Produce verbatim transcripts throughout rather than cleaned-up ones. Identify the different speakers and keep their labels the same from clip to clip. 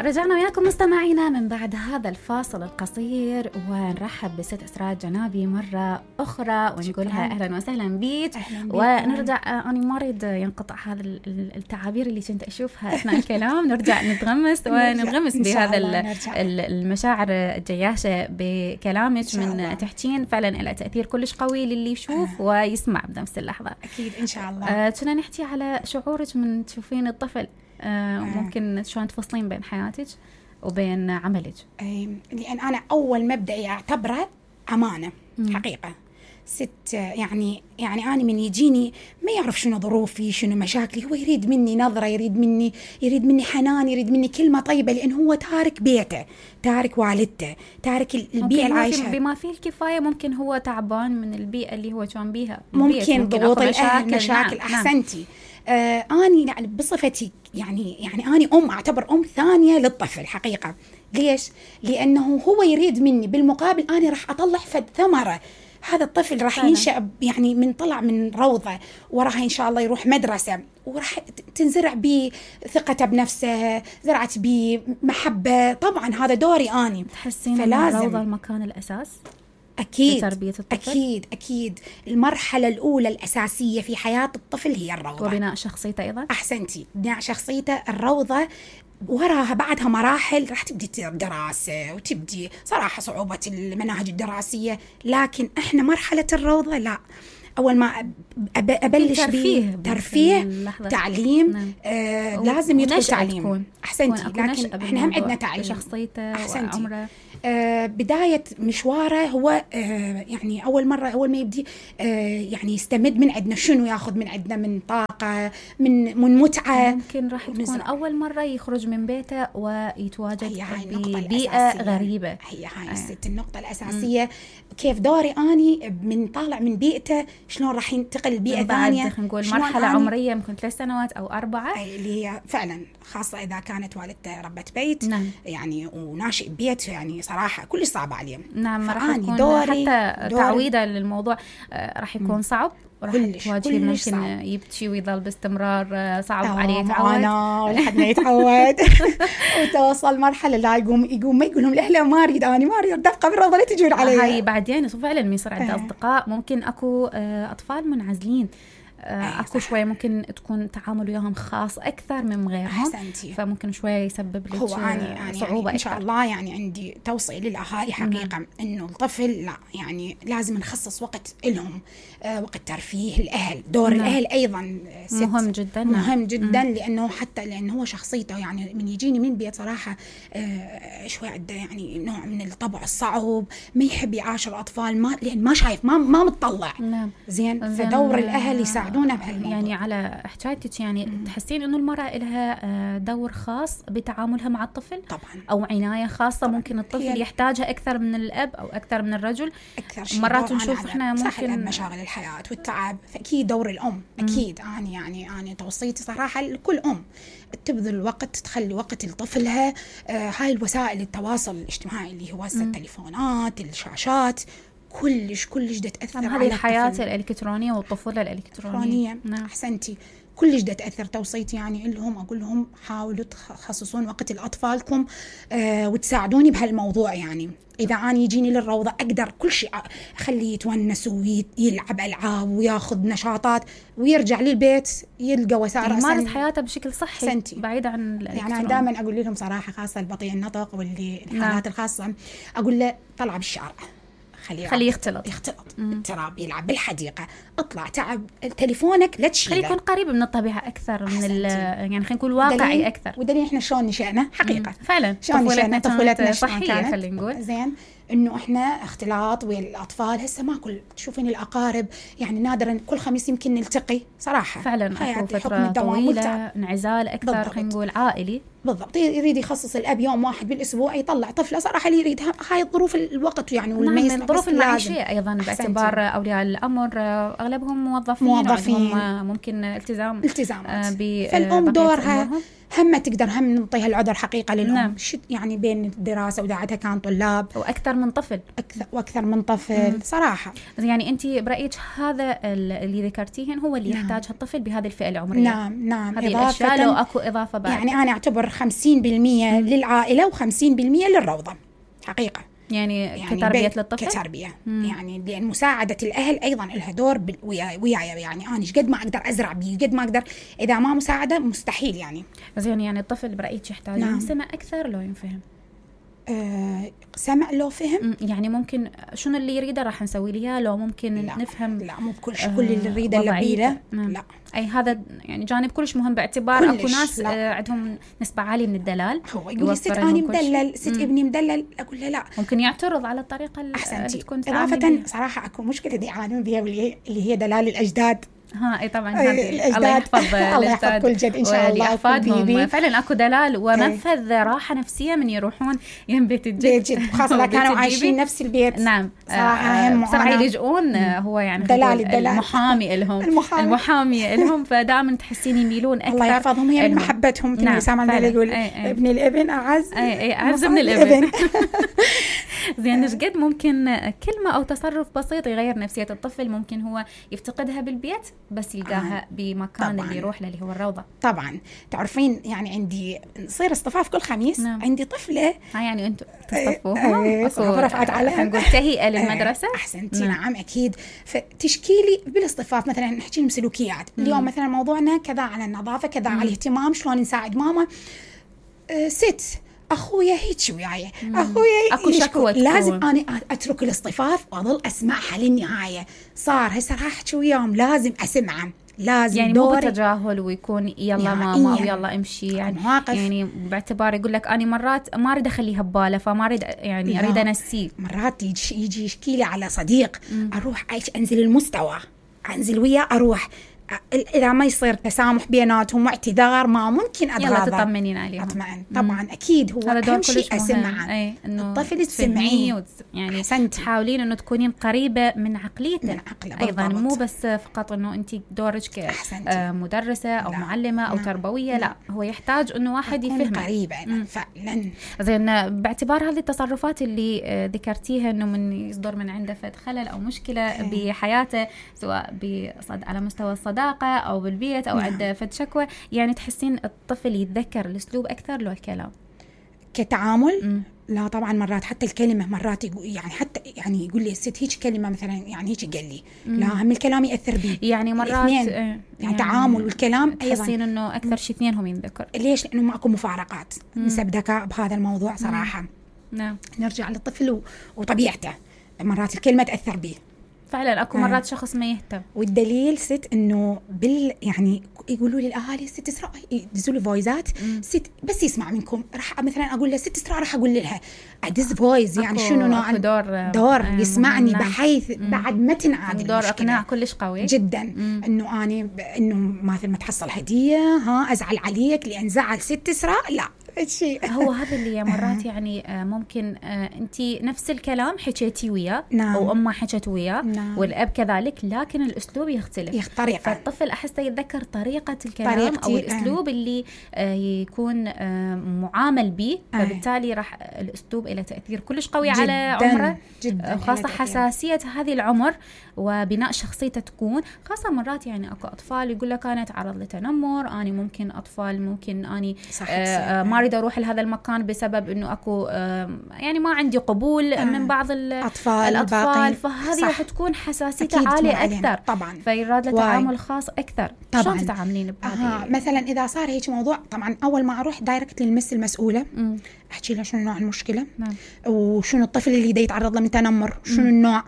Speaker 1: رجعنا وياكم مستمعينا من بعد هذا الفاصل القصير، ونرحب بست أسرار جنابي مرة أخرى ونقولها أهلا وسهلا بيك. ونرجع، أنا ما أريد ينقطع هذا التعابير اللي كنت أشوفها أثناء الكلام، نرجع نتغمس وننغمس بهذا المشاعر الجياشة بكلامك من تحكين. فعلا له تأثير كلش قوي للي يشوف ويسمع بنفس اللحظة.
Speaker 2: أكيد إن شاء الله.
Speaker 1: كنا نحكي على شعورك من تشوفين الطفل، آه ممكن شلون تفصلين بين حياتك وبين عملك؟
Speaker 2: لأن أنا أول مبدأ أعتبره أمانة. مم. حقيقة ست يعني يعني أنا من يجيني ما يعرف شنو ظروفي شنو مشاكلي، هو يريد مني نظرة، يريد مني يريد مني حنان، يريد مني كلمة طيبة، لأن هو تارك بيته، تارك والدته، تارك البيئة العايشة
Speaker 1: بما فيه الكفاية. ممكن هو تعبان من البيئة اللي هو كان بيها،
Speaker 2: ممكن ضغوط الأهل، مشاكل. نعم. أحسنتي. آه أني يعني بصفتي يعني يعني أني أم، أعتبر أم ثانية للطفل حقيقة. ليش؟ لأنه هو يريد مني بالمقابل أنا راح أطلع فد ثمرة. هذا الطفل راح ينشأ يعني من طلع من روضة، وراح إن شاء الله يروح مدرسة، وراح تنزرع بيه ثقته بنفسه، زرعت بيه محبة. طبعا هذا دوري أني.
Speaker 1: تحسين أن الروضة المكان الأساس؟
Speaker 2: أكيد أكيد أكيد. المرحلة الأولى الأساسية في حياة الطفل هي الروضة،
Speaker 1: وبناء شخصيته أيضا.
Speaker 2: أحسنتي، بناء شخصيته. الروضة وراها بعدها مراحل راح تبدي دراسة، وتبدي صراحة صعوبة المناهج الدراسية، لكن إحنا مرحلة الروضة لا، أول ما أبلش
Speaker 1: ترفيه
Speaker 2: ترفيه تعليم. نعم. آه لازم يدخل تعليم. أحسنتي، لكن إحنا هم عندنا تعليم
Speaker 1: شخصيته وعمره.
Speaker 2: آه بداية مشواره هو آه يعني أول مرة أول ما يبدي آه يعني يستمد من عندنا شنو، ياخذ من عندنا من طاقة، من من متعة.
Speaker 1: ممكن راح تكون أول مرة يخرج من بيته ويتواجد ببيئة غريبة.
Speaker 2: هي هاي الست النقطة الأساسية. م. كيف دوري أني من طالع من بيئته شلون راح ينتقل لبيئة ثانية.
Speaker 1: نقول مرحلة عمرية ممكن ثلاث سنوات أو أربعة،
Speaker 2: اللي هي فعلا خاصة إذا كانت والدته ربة بيت.
Speaker 1: نعم.
Speaker 2: يعني وناشئ بيت، يعني صراحة كل صعب عليه.
Speaker 1: نعم. راح يكون دوري حتى دوري تعويدا للموضوع راح يكون صعب، وراح تواجه ممكن يبكي ويظل باستمرار صعب عليه يتعود
Speaker 2: لحد ما يتعود وتوصل مرحلة لا يقوم يقوم ما يقول لهم لا ما أريد أنا ما أريد دفقة بالروضة لا تجون علي.
Speaker 1: هاي بعدين فعلا يصير عنده أصدقاء، ممكن أكو أطفال منعزلين، أكو شوية ممكن تكون تعامل وياهم خاص أكثر من غيرهم.
Speaker 2: أحسنتي.
Speaker 1: فممكن شوية يسبب لك
Speaker 2: صعوبة يعني إن شاء الله. يعني عندي توصية للأهالي حقيقة. مم. إنه الطفل لا يعني لازم نخصص وقت لهم، آه وقت ترفيه الأهل. دور مم. الأهل أيضا
Speaker 1: مهم جدا.
Speaker 2: مهم جدا. مم. لأنه حتى لأنه هو شخصيته يعني من يجيني من بيت صراحة آه شوية عنده يعني نوع من الطبع الصعب، ما يحب يعاشر الأطفال، ما لأن ما شايف ما ما متطلع.
Speaker 1: نعم.
Speaker 2: زين. فدور الأهل يساعدون
Speaker 1: يعني على حكايتك يعني مم. تحسين إنه المرأة لها دور خاص بتعاملها مع الطفل
Speaker 2: طبعا،
Speaker 1: أو عناية خاصة. طبعاً. ممكن الطفل يحتاجها أكثر من الأب أو أكثر من الرجل. مرات نشوف إحنا ممكن
Speaker 2: مشاغل الحياة والتعب، فأكيد دور الأم. أكيد أنا يعني أنا توصيتي صراحة لكل أم تبذل وقت، تخلي وقت لطفلها. آه هاي الوسائل التواصل الاجتماعي اللي هو التليفونات، الشاشات، كلش كلش دا تأثر على
Speaker 1: هذه الحياة الإلكترونية والطفولة الإلكترونية.
Speaker 2: نعم. أحسنتي. كلش دا تأثر. توصيتي يعني لهم أقول لهم حاولوا تخصصون وقت لأطفالكم آه وتساعدوني بهالموضوع. يعني إذا أنا يجيني للروضة أقدر كل شيء أخليه يتونس ويلعب ألعاب وياخذ نشاطات، ويرجع للبيت يلقى وسائل
Speaker 1: يمارس حياته بشكل صحي. سنتي. بعيد عن
Speaker 2: يعني أنا دائما أقول لهم صراحة، خاصة البطيء النطق واللي الحالات نعم. الخاصة، أقول له طلع بالشارع، خليه
Speaker 1: خليه يختلط
Speaker 2: يختلط التراب، يلعب بالحديقة، اطلع تعب تليفونك لا تشيله،
Speaker 1: خليه يكون قريب من الطبيعة أكثر. من يعني خلينا نقول واقعي أكثر.
Speaker 2: ودليل إحنا شلون نشأنا حقيقة.
Speaker 1: مم. فعلا
Speaker 2: شلون نشأنا طفولتنا
Speaker 1: صحية خلينا نقول.
Speaker 2: زين إنه إحنا اختلاط ويا الأطفال. هسه ما كل تشوفين الأقارب يعني نادرا، كل خميس يمكن نلتقي صراحة.
Speaker 1: فعلا أكو فترة طويلة انعزال أكثر، خلينا نقول عائلي.
Speaker 2: بالضبط. يريد يخصص الأب يوم واحد بالأسبوع يطلع طفله. صراحة اللي يريد هاي الظروف الوقت يعني
Speaker 1: والميز نعم. الظروف المعيشية أيضا باعتبار أولياء الأمر أغلبهم موظفين،
Speaker 2: موظفين
Speaker 1: ممكن التزام
Speaker 2: التزامات. فالأم دورها هم تقدر هم نعطيها العذر حقيقة للأم.
Speaker 1: نعم.
Speaker 2: يعني بين الدراسة وداعتها كان طلاب
Speaker 1: وأكثر من طفل
Speaker 2: أكثر وأكثر من طفل. مم. صراحة
Speaker 1: يعني أنت برأيك هذا اللي ذكرتيهن هو اللي نعم. يحتاجها الطفل بهذه الفئة العمرية.
Speaker 2: نعم نعم.
Speaker 1: هذه الأشياء لو أكو إضافة بعد.
Speaker 2: يعني أنا أعتبر خمسين بالمية للعائلة وخمسين بالمية للروضة حقيقة.
Speaker 1: يعني, يعني كتربية للطفل
Speaker 2: كتربية. مم. يعني لأن مساعدة الأهل أيضا لها دور وياي وياي يعني أنا قد ما أقدر أزرع بيه قد ما أقدر، إذا ما مساعدة مستحيل يعني.
Speaker 1: زين يعني الطفل برأيك يحتاج نعم. سمع أكثر لو ينفهم؟
Speaker 2: أه سمع لو فهم
Speaker 1: يعني ممكن شنو اللي يريده راح نسوي له، لو ممكن
Speaker 2: لا.
Speaker 1: نفهم
Speaker 2: لا مو بكل شيء. كل اللي يريده اللي
Speaker 1: لا اي هذا يعني جانب كلش مهم باعتبار اكو ناس آه عندهم نسبه عاليه من الدلال.
Speaker 2: هو يقول لي ست اني مدلل ست ابني مدلل، اقول له لا
Speaker 1: ممكن يعترض على الطريقه اللي تكون
Speaker 2: اضافه. صراحه اكو مشكله دي يعانون بها اللي هي دلال الاجداد.
Speaker 1: ها اي طبعا هذه الله يحفظ
Speaker 2: الله يحفظ كل جد ان شاء الله
Speaker 1: احفادهم. فعلا اكو دلال ومنفذ راحه نفسيه من يروحون يم بيت الجد
Speaker 2: جد، خاصه اذا كانوا عايشين نفس البيت.
Speaker 1: نعم صراحه بسرعه يلجؤون هو يعني
Speaker 2: دلال الدلال
Speaker 1: المحامي لهم المحامي لهم فدائما تحسين يميلون اكثر.
Speaker 2: الله يحفظهم هي محبتهم. مثل سامع يقول ابن الابن اعز
Speaker 1: اي اي اعز من الابن. زين ايش قد ممكن كلمه او تصرف بسيط يغير نفسيه الطفل ممكن هو يفتقدها بالبيت بس يلقاها آه. بمكان طبعاً. اللي يروح له اللي هو الروضه.
Speaker 2: طبعا تعرفين يعني عندي نصير اصطفاف كل خميس. نعم. عندي طفله
Speaker 1: ها يعني انتم تصطفوها
Speaker 2: رفعت عليها
Speaker 1: نقول تهيئه للمدرسه.
Speaker 2: احسنتي. نعم. نعم اكيد. فتشكي لي بالاصطفاف مثلا نحكي لهم سلوكيات. مم. اليوم مثلا موضوعنا كذا على النظافه كذا مم. على الاهتمام شلون نساعد ماما. أه ست اخويا هيك وياي اخويا
Speaker 1: اكو شكوى
Speaker 2: لازم انا اترك الاصطفاف واظل اسمعها للنهايه. صار هسه راح احكي وياهم لازم اسمعه لازم
Speaker 1: يعني مو بتجاهل ويكون يلا ماما او يلا امشي يعني
Speaker 2: مواقف.
Speaker 1: يعني باعتبار يقول لك انا مرات ما اريد اخليها بباله فما اريد يعني اريد انسيه.
Speaker 2: مرات يجي يشكي لي على صديق مم. اروح انزل المستوى انزل وياه اروح إذا ما يصير تسامح بيناتهم واعتذار ما ممكن أتغاضى.
Speaker 1: يلا تطمنين عليهم.
Speaker 2: أطمئن طبعا مم. أكيد هو أهم شيء أسمعه.
Speaker 1: أي إنه
Speaker 2: الطفل تسمعيه
Speaker 1: وتس... يعني حسنتي. تحاولين إنه تكونين قريبة من عقليته.
Speaker 2: من عقله
Speaker 1: أيضا مو بس فقط إنه أنت دورك كمدرسة أو لا. معلمة أو لا. تربوية لا. لا هو يحتاج إنه واحد يفهم.
Speaker 2: قريبة فعلا.
Speaker 1: زين باعتبار هذه التصرفات اللي ذكرتيها إنه من يصدر من عنده فد خلل أو مشكلة أي. بحياته سواء بصد على مستوى الصداقة أو بالبيت أو عنده فد شكوى يعني تحسين الطفل يتذكر الأسلوب أكثر لو الكلام
Speaker 2: كتعامل. م. لا طبعا مرات حتى الكلمة مرات يعني حتى يعني يقول لي الست هيك كلمة مثلا يعني هيك قال لي م. لا هم الكلام يأثر بي
Speaker 1: يعني مرات
Speaker 2: يعني, يعني تعامل والكلام
Speaker 1: تحسين إنه أكثر شيء اثنينهم ينذكر.
Speaker 2: ليش؟ لأنه ماكو مفارقات نسب ذكاء بهذا الموضوع صراحة.
Speaker 1: نعم.
Speaker 2: نرجع للطفل وطبيعته مرات الكلمة تأثر بيه
Speaker 1: فعلا. اكو مرات آه. شخص ما يهتم.
Speaker 2: والدليل ست انه بال يعني يقولوا لي الاهالي ست اسراء يدزوا لي فويزات ست بس يسمع منكم راح مثلا اقول له ست اسراء راح اقول لها ادز فويز يعني شنو نوع
Speaker 1: دور
Speaker 2: دور آه يسمعني مم. بحيث مم. بعد ما تنعاد
Speaker 1: دور اقناع كلش قوي
Speaker 2: جدا. انه اني انه مثلا ما تحصل هديه ها ازعل عليك لان زعل ست اسراء لا شيء.
Speaker 1: هو هذا اللي مرات يعني ممكن انت نفس الكلام حكيتي وياه
Speaker 2: نعم.
Speaker 1: او امه حكت وياه
Speaker 2: نعم.
Speaker 1: والاب كذلك لكن الاسلوب يختلف
Speaker 2: يختلف.
Speaker 1: فالطفل احسه يتذكر طريقه الكلام طريقتي. او الاسلوب اللي يكون معامل به فبالتالي راح الاسلوب له تاثير كلش قوي
Speaker 2: جداً.
Speaker 1: على عمره
Speaker 2: جدا
Speaker 1: خاصه حساسيه هذه العمر وبناء شخصيته تكون خاصه. مرات يعني اكو اطفال يقول لك انا اتعرض لتنمر اني ممكن اطفال ممكن اني آه ما اريد اروح لهذا المكان بسبب انه اكو يعني ما عندي قبول آه. من بعض
Speaker 2: الاطفال
Speaker 1: الاطفال فهذه راح تكون حساسيته عاليه اكثر
Speaker 2: طبعا
Speaker 1: فيراد له تعامل خاص اكثر. شلون تتعاملين بهذه؟
Speaker 2: آه. مثلا اذا صار هيك موضوع طبعا اول ما اروح دايركت للمس المسؤوله م. احكي لها شنو نوع المشكله
Speaker 1: نعم.
Speaker 2: وشنو الطفل اللي دا يتعرض له من تنمر شنو م. النوع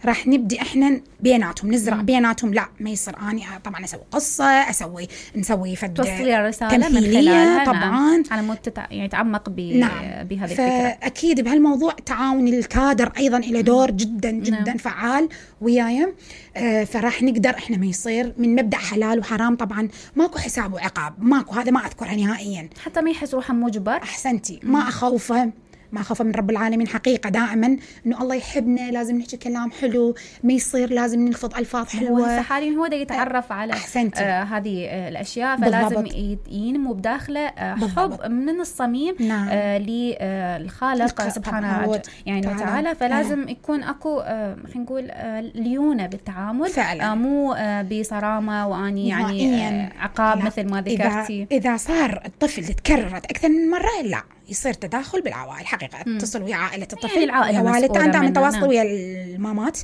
Speaker 2: راح نبدي احنا بيناتهم نزرع مم. بيناتهم لا ما يصير اني طبعا اسوي قصه اسوي نسوي فد
Speaker 1: توصلي الرساله من خلالها
Speaker 2: طبعا
Speaker 1: نعم. على مود تتع... يعني يتعمق ب...
Speaker 2: نعم.
Speaker 1: بهذه الفكره.
Speaker 2: اكيد بهالموضوع تعاون الكادر ايضا له دور جدا جدا نعم. فعال وياي. آه فراح نقدر احنا ما يصير من مبدا حلال وحرام طبعا ماكو حساب وعقاب ماكو هذا ما اذكرها نهائيا
Speaker 1: حتى ما يحس روحه مجبر.
Speaker 2: احسنتي. ما اخوفه ما خوفا من رب العالمين حقيقة دائما إنه الله يحبنا لازم نحكي كلام حلو، ما يصير لازم نلفظ ألفاظ حلوة.
Speaker 1: حاليا هو ده يتعرف على آه هذه آه الأشياء، فلازم ينمو بداخله آه حب من الصميم نعم. آه للخالق آه سبحانه يعني وتعالى. فلازم آه. يكون أكو آه خلينا نقول آه ليونة بالتعامل فعلا. آه مو آه بصرامة وأني يعني آه عقاب لا. مثل ما ذكرتي.
Speaker 2: إذا, إذا صار الطفل تكررت أكثر من مرة لا يصير تداخل بالعوائل حقيقة. اتصل ويا عائلة الطفل
Speaker 1: يعني
Speaker 2: والدته، دائما تواصل ويا المامات،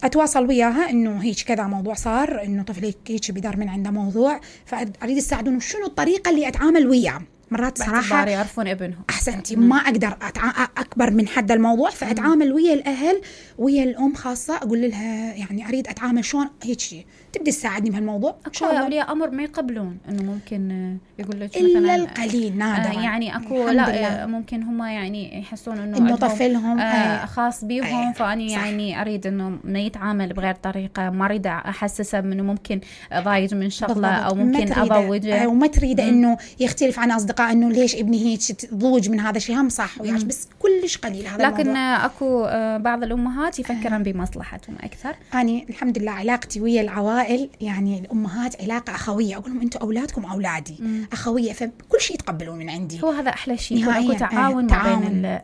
Speaker 2: اتواصل وياها انه هيك كذا موضوع صار، انه طفلي هيك بدار من عنده موضوع، فاريد اساعدهم شنو الطريقه اللي اتعامل وياه. مرات صراحه
Speaker 1: يعرفون ابنهم
Speaker 2: احسنتي ما اقدر أتع... اكبر من حد الموضوع، فاتعامل ويا الاهل ويا الام خاصه، اقول لها يعني اريد اتعامل شلون هيك شيء، تبدي تساعدني بهالموضوع.
Speaker 1: اكو اولياء امر ما يقبلون انه ممكن يقول لك
Speaker 2: مثلا الا القليل نادرا
Speaker 1: آه يعني اكو لا ممكن هم يعني يحسون انه
Speaker 2: انه طفلهم
Speaker 1: آه خاص بيهم آه فاني صح. يعني اريد انه ما يتعامل بغير طريقه، ما اريد احسسه انه ممكن ضايج من شغله او ممكن اضوجه،
Speaker 2: وما تريد انه يختلف عن اصدقاء انه ليش ابني هيك ضوج من هذا الشيء. هم صح وياش بس كلش قليل هذا
Speaker 1: لكن
Speaker 2: الموضوع.
Speaker 1: اكو بعض الامهات يفكرن بمصلحتهم اكثر.
Speaker 2: اني الحمد لله علاقتي ويا العوائل يعني الامهات علاقه اخويه، اقول لهم انتم اولادكم اولادي مم. اخويه، فكل شيء يتقبلون من عندي.
Speaker 1: هو هذا احلى شيء، يكون اكو تعاون ما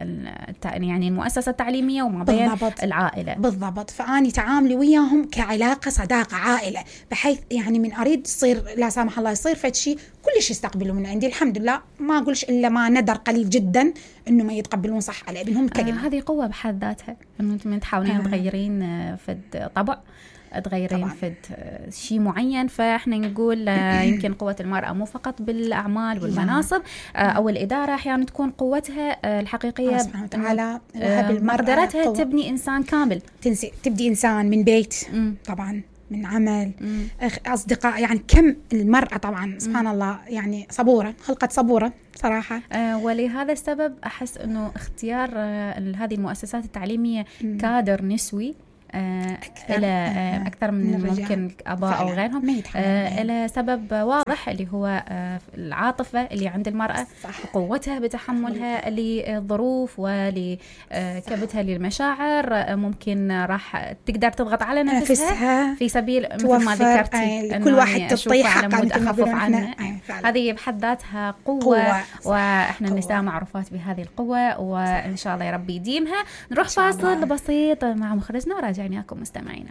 Speaker 1: بين يعني المؤسسه التعليميه وما بين بالضبط. العائله
Speaker 2: بالضبط. فاني تعاملي وياهم كعلاقه صداقه عائله، بحيث يعني من اريد تصير لا سامح الله يصير فد شيء كلش يستقبلوا من عندي الحمد لله. ما اقولش الا ما ندر قليل جدا انه ما يتقبلون صح على ابنهم كلمه.
Speaker 1: آه هذه قوه بحد ذاتها، انه انت تحاولين آه. تغيرين فد طبع، تغيرين طبعاً. فد شيء معين. فاحنا نقول يمكن قوة المرأة مو فقط بالأعمال والمناصب أو الإدارة، أحيانا تكون قوتها الحقيقية
Speaker 2: سبحانه وتعالى
Speaker 1: مقدرتها تبني إنسان كامل،
Speaker 2: تنسي تبدي إنسان من بيت م. طبعاً من عمل مم. أصدقاء، يعني كم المرأة طبعا سبحان مم. الله يعني صبورة، خلقت صبورة صراحة.
Speaker 1: آه ولهذا السبب أحس أنه اختيار آه هذه المؤسسات التعليمية مم. كادر نسوي آه إلى آه أكثر من, من ممكن آباء أو غيرهم آه إلى سبب واضح اللي هو آه العاطفة اللي عند المرأة صح. قوتها بتحملها للظروف ولكبتها للمشاعر آه ممكن راح تقدر تضغط على نفسها, نفسها في سبيل مثل ما ذكرتي
Speaker 2: كل واحد تطيح حقا
Speaker 1: أخفف عنها. هذه بحد ذاتها قوة, قوة. وإحنا النساء معروفات بهذه القوة، وإن شاء الله يا ربي يديمها. نروح فاصل بسيط مع مخرجنا وراجع. يعني أكم مستمعينا.